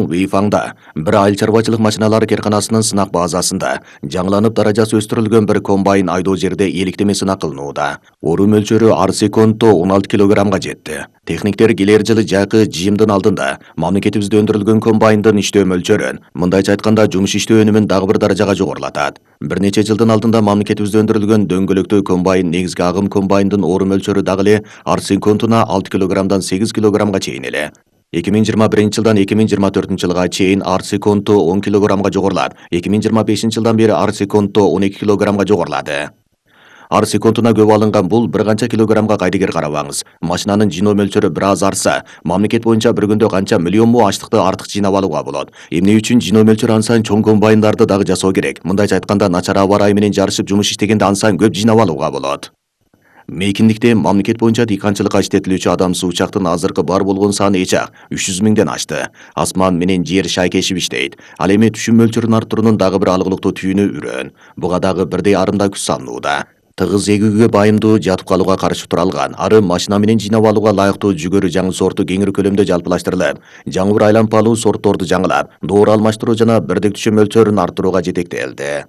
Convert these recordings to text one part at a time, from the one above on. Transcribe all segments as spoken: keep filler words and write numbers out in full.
Уйфаңда бир айыл чарбачылык машиналары керканасынын сынак базасында жаңыланып даражасы өстүрүлгөн бир комбайн айдоо жерде эликтеме сынак кылынууда. Ору мөлчөрү ар секундто он алты килограммга жетти. Техниктер келер жылы жайкы жыйымдын алдында мамлекетибизде өндүрүлгөн комбайндын иштөө мөлчөрүн, мындайча айтканда жумуш иштөө өнүмүн дагы бир даражага жогорулатат. Бир нече жылдын алдында мамлекетибизде өндүрүлгөн дөңгөлөктүү комбайн негизги агым комбайндын ору мөлчөрү дагы эле ар секундуна алты килограммдан сегиз килограммга чейин эле. эки миң жыйырма биринчи жылдан эки миң жыйырма төртүнчү жылга чейин ар секундто он килограммга жогорулап, эки миң жыйырма бешинчи жылдан бери ар секундто он эки килограммга жогорулады. Ар секундуна көп алынган бул бир канча килограммга кайдыгер карабаңыз. Машинанын жыйноо мөлчөрү бир аз арса, мамлекет боюнча бир күндө канча миллион му аштыкты артык жыйнап алууга болот. Эмне үчүн жыйноо мөлчөрү ансайын чоң комбайндарды дагы жасоо керек? Мындайча айтканда, начар аба ырайы менен жарышып жумуш иштегенде ансайын көп жыйнап алууга болот. Мейкиндикте мамлекет боюнча дыйканчылыкка иштетилүүчү адамсыз учактын азыркы бар болгон саны эч ак үч жүз миңден ашты. Асман менен жер шайкешип иштейт. Ал эми түшүм мөлчөрүн арттыруунун дагы бир алгылыктуу түйүнү үрөөн. Буга дагы бирдей арымда күч салынууда. Тыгыз эгүүгө байымдуу жатып калууга каршы тура алган, ары машина менен жыйнап алууга лайыктуу жүгөрү жаңы сорту кеңири көлөмдө жалпылаштырылып, жаңы бир айлампалуу сортторду жаңылап, доор алмаштыруу жана бирдик түшүм мөлчөрүн арттырууга жетектелди.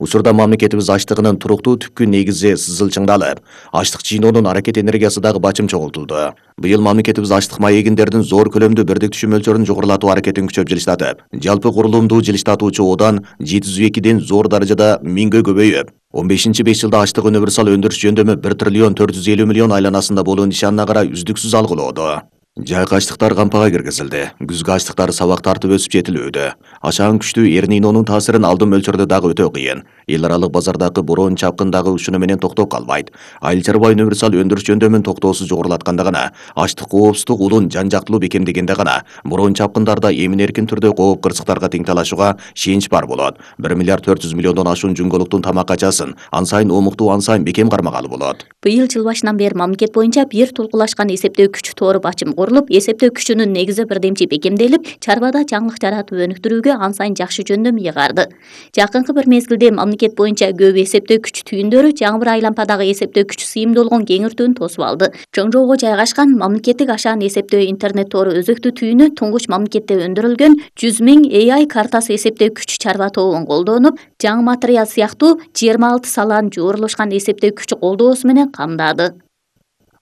Учурда мамлекетибиз аштыгынын туруктуу түпкү негизи сызылчыңдалып, аштык жыйноонун аракет энергиясы дагы бачым чогултулду. Быйыл мамлекетибиз аштык маегиндердин зор көлөмдүү бирдик түшүм мөлчөрүн жогорулатуу аракетин күчөп жылыштатып, жалпы курулумдуу жылыштатуучу одан жети жүз экиден зор даражада миңге көбөйүп, он бешинчи беш жылда аштык универсал өндүрүш жөндөмү бир триллион төрт жүз элүү миллион айланасында болуу нишанына карай үздүксүз алгылоодо. Жайкы аштыктар кампага киргизилди. Күзгү аштыктар сабак тартып өсүп жетилүүдө. Ашаан күчтүү Эр-Нинонун таасирин алдын мөлчөрдө дагы өтө кыйын. Эл аралык базардагы бороон чапкын дагы ушуну менен токтоп калбайт. Айыл чарба универсал өндүрүш жөндөмүн токтоосуз жогорулатканда гана, аштык коопсуздук улун жан-жактылуу бекемдегенде гана, бороон чапкындарда эмин-эркин түрдө кооп кырсыктарга тең талашууга шенч бар болот. бир миллиард төрт жүз миллиондон ашуун жүңгөлүктүн тамак качасын ансайын омуктуу, ансайын бекем кармагалы болот. Быйыл жыл башынан бери мамлекет боюнча бир толкулашкан эсептөө күчү тору бачым курулуп, эсептөө күчүнүн негизи бирдемчи бекемделип, чарбада жаңылык жаратып өнүктүрүүгө ансайын жакшы жөндөм ыйгарды. Жакынкы бир мезгилде мамлекет боюнча көп эсептөө күч түйүндөрү жаңы бир айлампадагы эсептөө күч сыйымдуулугун кеңиртүүнү тосуп алды. Чоң жоого жайгашкан мамлекеттик ашаан эсептөө интернет тору өзөктүү түйүнү туңгуч мамлекетте өндүрүлгөн жүз миң эй ай картасы эсептөө күч чарба тобун колдонуп, жаңы материал сыяктуу жыйырма алты саланын жуурулушкан эсептөө күч колдоосу менен камдады.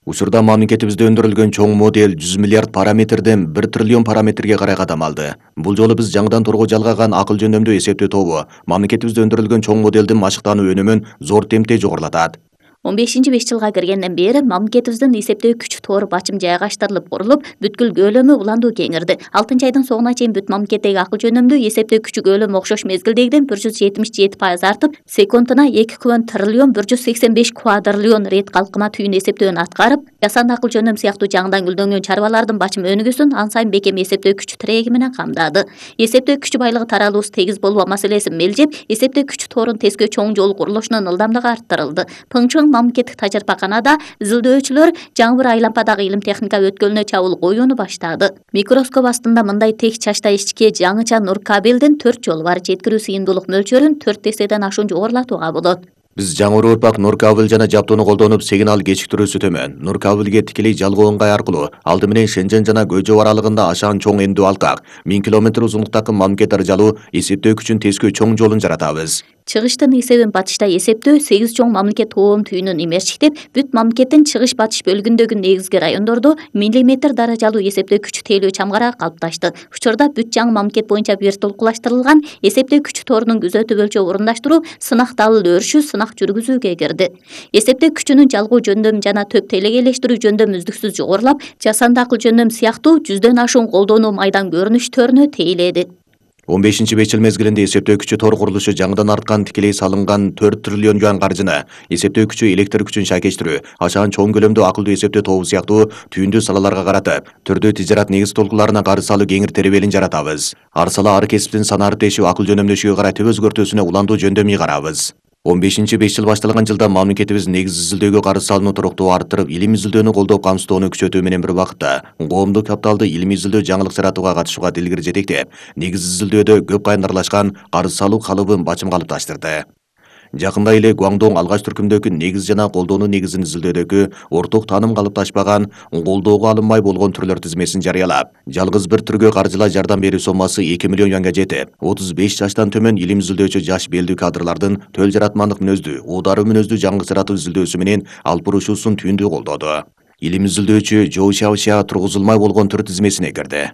Учурда мамлекетибизде өндүрүлгөн чоң модель жүз миллиард параметрден бир триллион параметрге карай кадам алды. Бул жолу биз жаңыдан тургу жалгаган акыл жөндөмдүү эсептөө тобу мамлекетибизде өндүрүлгөн чоң моделдин машыктануу өнүмүн зор темпте жогорулатат. он бешинчи беш жылга киргенден бери мамлекетибиздин эсептөө күч тору бачым жайгаштырылып курулуп, бүткүл көлөмү уланду кеңирди. алтынчы айдын соңуна чейин бүт мамлекеттеги акыл жөндөмдүү эсептөө күчү көлөмү окшош мезгилдегиден бир жүз жетимиш жети пайыз артып, секундуна эки триллион бир жүз сексен беш квадриллион рет калкыма түйүн эсептөөнү аткарып, жасанды акыл жөндөм сыяктуу жаңыдан гүлдөнгөн чарбалардын бачым өнүгүүсүн ансайын бекем эсептөө күч тиреги менен камдады. Эсептөө күч байлыгы таралуусу тегиз болбоо маселесин мелжеп, эсептөө күч торун тескөө чоң жол курулушунун ылдамдыгы арттырылды. Пыңчың мамлекеттик тажрыйбаканада изилдөөчүлөр жаңы бир айлампадагы илим техника өткөлүнө чабуул коюуну баштады. Микроскоп астында мындай тең чачта ичке жаңыча нур кабелдин төрт жолу бар. Жеткирүү сыйымдуулук мөлчөрүн төрт эседен ашуун жогорулатууга болот. Биз жаңы урпак нур кабель жана жабдууну колдонуп, сигнал кечиктирүүсү төмөн нур кабелге тикелей жалгоо ыңгай аркылуу алды менен Шенжен жана Көйжөп аралыгында ашаан чоң эндүү алкак миң километр узунлуктагы мамлекет аралуу эсептөө күчүн тескөө чоң жолун жаратабыз. Чыгыштын эсебин батышта эсептөө сегиз чоң мамлекет тоом түйүнүн имерчиктеп, бүт мамлекеттин чыгыш батыш бөлүгүндөгү негизги райондордо миллиметр даражалуу эсептөө күчү тейлөө чамгарагы калыпташты. Учурда бүт жаңы мамлекет боюнча бир толкулаштырылган эсептөө күчү торунун күзөтүү өлчөө орундаштыруу, сынак далыл өрүшү сынак жүргүзүүгө кирди. Эсептөө күчүнүн жалгоо жөндөм жана төп телегейлештирүү жөндөм үздүксүз жогорулап, жасанды акыл жөндөм сыяктуу жүздөн ашуун колдонуу майдан көрүнүштөрүнө тейледи. он бешинчи беш жыл мезгилинде эсептөө күчү тор курулушу жаңыдан арткан тикелей салынган төрт триллион юан каржыны, эсептөө күчү электр күчүн шайкештирүү, ашаан чоң көлөмдүү акылдуу эсептөө тобу сыяктуу түйүндүү салаларга каратып, түрдүү тижарат негиз толкуларына кары салуу кеңир теребелин жаратабыз. Ар сала ар кесиптин санаары тешүү акыл жөнөмдөшүгө карай төп өзгөртүүсүнө уландуу жөндөм ыйгарабыз. он бешинчи беш жыл башталган жылда мамлекетибиз негиз изилдөөгө кары салууну туруктуу арттырып, илим изилдөөнү колдоп камсыздоону күчөтүү менен бир убакытта коомдук капиталды илимий изилдөө жаңылык жаратууга катышууга дилгири жетектеп, негиз изилдөөдө көп кайнарлашкан кары салуу калыбын бачымга алып таштырды. Жакында эле Гуаңдоң алгач түркүмдөгү негиз жана колдоону негизин изилдөөдөгү орток тааным калыпташпаган, колdoого алынмай болгон түрлөр тизмесин жарыялап, жалгыз бир түргө каржылай жардам берүү соммасы эки миллион юанга жетип, отуз беш жаштан төмөн илим изилдөөчү жаш белдүү кадрлардын төл жаратмандык мүнөздүү, удаары мүнөздүү жаңы жаратуу изилдөөсү менен алып бурушуусун түйүндүү колдоду. Илим изилдөөчү Жоу Шаошия тургузулмай болгон түр тизмесине кирди.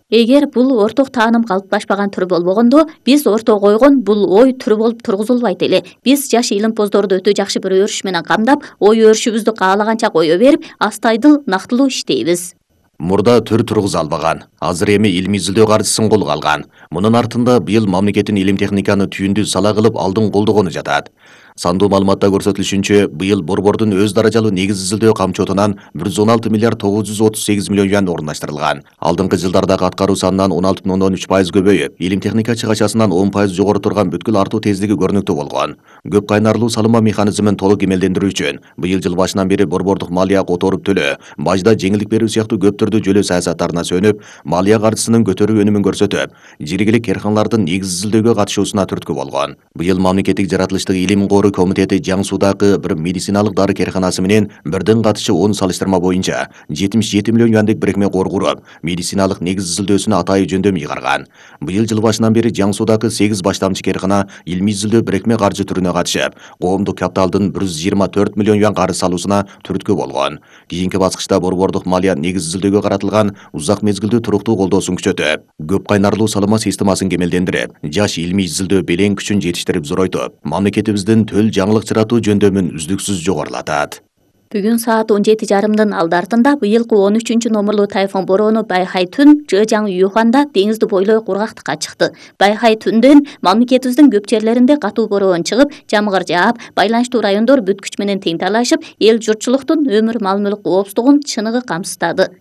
Эгер бул орток тааным калыпташпаган түр болбогондо, биз ортого койгон бул ой түрү болуп тургузулбайт эле. Биз жаш илимпоздорду өтө жакшы бир өрүш менен камдап, ой өрүшүбүздү каалаганча кое берип, астайдыл, нактылуу иштейбиз. Мурда түр тургуза албаган, азыр эми илимий изилдөө каржысын колго алган. Мунун артында быйыл мамлекеттин илим техниканы түйүндүү сала кылып алдын колдогону жатат. Сандуу маалыматта көрсөтүлүшүнчө, быйыл Борбордун өз даражалуу негиз изилдөө камчотунан бир жүз он алты миллиард тогуз жүз отуз сегиз миллион юан орундаштырылган. Алдыңкы жылдардагы аткаруу санынан он алты бүтүн ондон үч пайыз көбөйүп, илим техника чыгачасынан он пайыз жогору турган бүткүл артуу тездиги көрүнүктүү болгон. Көп кайнарлуу салыма механизмин толук эмелдендирүү үчүн быйыл жыл башынан бери борбордук малия которуп төлөө, бажда жеңилдик берүү сыяктуу көп түрдүү жөлөө саясаттарына сөнүп, малия каржысынын көтөрүү өнүмүн көрсөтүп, жергиликтүү керканлардын негиз изилдөөгө катышуусуна түрткү болгон. Быйыл мамлекеттик жаратылыштык илим кору комитети Жаңсуудагы бир медициналык дары керканасы менен бирден катышы он салыштырма боюнча жетимиш жети миллион юандык бирикме кор куруп, медициналык негиз изилдөөсүнө атайы жөндөм ыйгарган. Быйыл жыл башынан бери Жаңсуудагы сегиз баштамчы керкана илимий изилдөө бирикме каржы түрүнө катышып, коомдук капиталдын бир жүз жыйырма төрт миллион юан карыз салуусуна түрткү болгон. Кийинки баскычта борбордук малия негиз изилдөөгө каратылган узак мезгилдүү туруктуу колдоосун күчөтүп, көп кайнарлуу салыма системасын кемелдендирип, жаш илимий изилдөө белең күчүн жетиштирип зоройтуп, мамлекетибиздин төл жаңылык жаратуу жөндөмүн үздүксүз жогорулатат. Бүгүн саат он жети жарымдын алды артында быйылкы он үчүнчү номерлуу тайфун бороону Байхай түн Жэжаң Юханда деңизди бойлой кургактыкка чыкты. Байхай түндөн мамлекетибиздин көп жерлеринде катуу бороон чыгып, жамгыр жаап, байланыштуу райондор бүт күч менен тең талашып, эл журтчулуктун өмүр мал-мүлк коопсуздугун чыныгы камсыздады.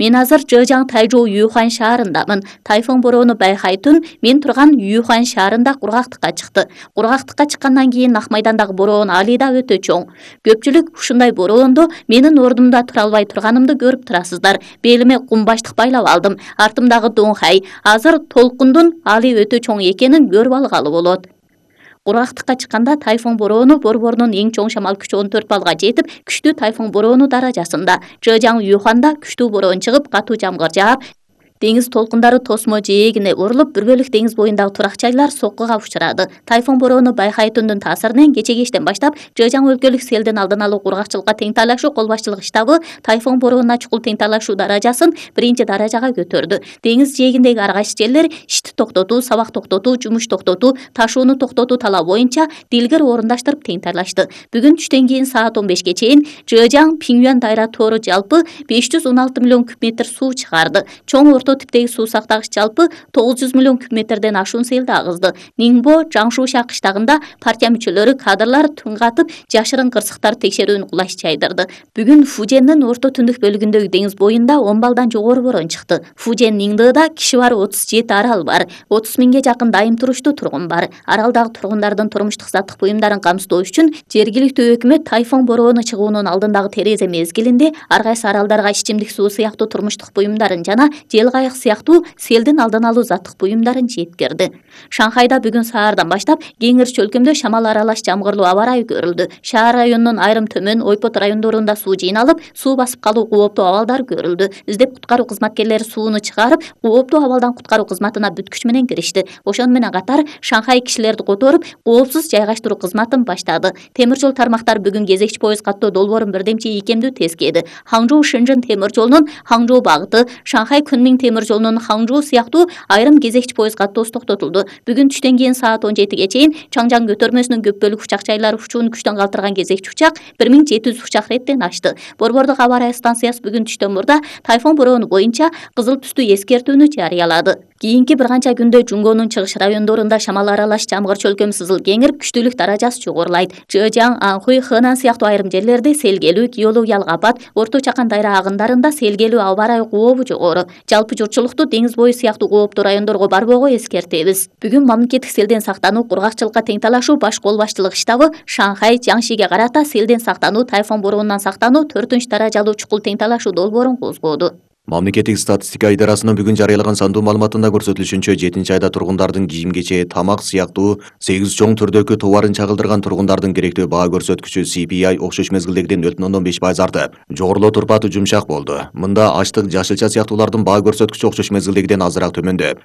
Мен азыр Жэжаң Тайжоу Юхан шаарындамын. Тайфун бороону Байхай түн мен турган Юхан шаарында кургактыкка чыкты. Кургактыкка чыккандан кийин Ак майдандагы бороон али да өтө чоң. Көпчүлүк ушундай бороондо менин ордумда тура албай турганымды көрүп турасыздар. Белиме кумбаштык байлап алдым. Артымдагы доңхай. Азыр толкундун али өтө чоң экенин көрүп алгалы болот. Кургактыкка чыкканда тайфун бороону борборунун эң чоң шамал күчү он төрт балга жетип, күчтүү тайфун бороону даражасында. Жэжаң Юханда күчтүү бороон чыгып, катуу жамгыр жаап, деңиз толкундары тосмо жээгине урулуп, бир бөлүк деңиз боюндагы турак жайлар соккуга учурады. Тайфун бороону Байхай түндүн таасиринен кече кечтен баштап Жэжаң өлкөлүк селдин алдын алуу кургакчылыкка тең талашуу кол башчылык штабы тайфун бороону чукул тең талашуу даражасын биринчи даражага көтөрдү. Деңиз жээгиндеги ар кайсы жерлер ишти токтотуу, сабак токтотуу, жумуш токтотуу, ташууну токтотуу талап боюнча дилгер орундаштырып тең талашты. Бүгүн түштөн кийин саат он бешке чейин Жэжаң Пиңюан дайра тору жалпы беш жүз он алты миллион куб метр суу чыгарды. Чоң орто типтеги суу сактагыч жалпы тогуз жүз миллион куб метрден ашуун селди агызды. Ниңбо, Жаңшуша кыштагында партия мүчөлөрү, кадрлар түн катып, жашырын кырсыктар текшерүүнү кулаш чайдырды. Бүгүн Фужендин орто түндүк бөлүгүндөгү деңиз боюнда он балдан жогору бороон чыкты. Фужен Ниңдыда киши бар отуз жети арал бар. отуз миңге жакын дайым туруштуу тургун бар. Аралдагы тургундардын турмуштук заттык буюмдарын камсыздоо үчүн жергиликтүү өкмөт тайфун бороону чыгуунун алдындагы терезе мезгилинде ар кайсы аралдарга ичимдик суу сыяктуу турмуштук буюмдарын жана жел кайык сыяктуу селдин алдын алуу заттык буюмдарын жеткирди. Шанхайда бүгүн саардан баштап кеңир чөлкөмдө шамал аралаш жамгырлуу аба ырайы көрүлдү. Шаар районунун айрым төмөн, ойпот райондорунда суу жыйналып, суу басып калуу кооптуу абалдар көрүлдү. Издеп куткаруу кызматкерлери сууну чыгарып, кооптуу абалдан куткаруу кызматына бүт күч менен киришти. Ошону менен катар Шанхай кишилерди которуп, коопсуз жайгаштыруу кызматын баштады. Темир жол тармактар бүгүн кезекчи поезд каттоо долбоорун бирдемче ийкемдүү тескеди. Хаңжоу Шэньчжэн темир жолунун Хаңжоу багыты, Шанхай Кунмиң темир жолунун Хаңжоу сыяктуу айрым кезекчи поезд каттоосу токтотулду. Бүгүн түштөн кийин саат он жетиге чейин Чаңжаң көтөрмөсүнүн көп бөлүк учак жайлары учууну күчтөн калтырган кезекчи учак бир миң жети жүз учак реттен ашты. Борбордук аба ырайы станциясы бүгүн түштөн мурда тайфун бороону боюнча кызыл түстүү эскертүүнү жарыялады. Кийинки бир канча күндө Жунгонун чыгыш райондорунда шамал аралаш жамгыр чөлкөм сызыл кеңирип, күчтүүлүк даражасы жогорулайт. Жэжаң, Анхуй, Хэнан сыяктуу айрым жерлерде селгелүү, геологиялык апат, Орто Чакан дайра агындарында селгелүү аба ырайы кообу жогору. Жалпы журтчулукту деңиз бою сыяктуу кооптуу райондорго барбоого эскертебиз. Бүгүн мамлекеттик селден сактануу, кургакчылыкка тең талашуу баш кол башчылык штабы Шанхай, Жаңшиге карата селден сактануу, тайфун бороонунан сактануу төртүнчү даражалуу чукул тең талашуу долбоорун козгоду. Мамлекеттик статистика идарасынын бүгүн жарыялаган сандуу маалыматында көрсөтүлүшүнчө, жетинчи айда тургундардын кийим-кече, тамак сыяктуу сегиз чоң түрдөгү товарын чагылдырган тургундардын керектүү баа көрсөткүчү C P I окшош мезгилдегиден нөл бүтүн ондон беш пайыз артып, жогорулоо турпаты жумшак болду. Мында ачлык, жашылча сыяктуулардын баа көрсөткүчү окшош мезгилдегиден азыраак төмөндөп,